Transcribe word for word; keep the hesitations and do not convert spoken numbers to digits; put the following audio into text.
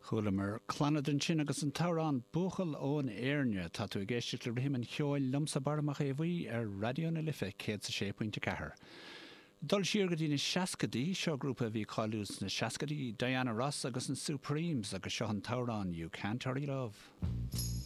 Chualamar Clannad ansin agus an t-amhrán Buachaill ón Éirne tá tú ag éisteacht le Rithim an Cheoil liomsa Barra Mac Aodha Bhuí ar Raidió na Life céad a sé pointe ceathair. Dul siar go dtí na seascaidí seo grúpa a bhí cáiliúil sna seascaidí Diana Ross agus an Supremes agus seo an t-amhrán You Can't Hurry Love.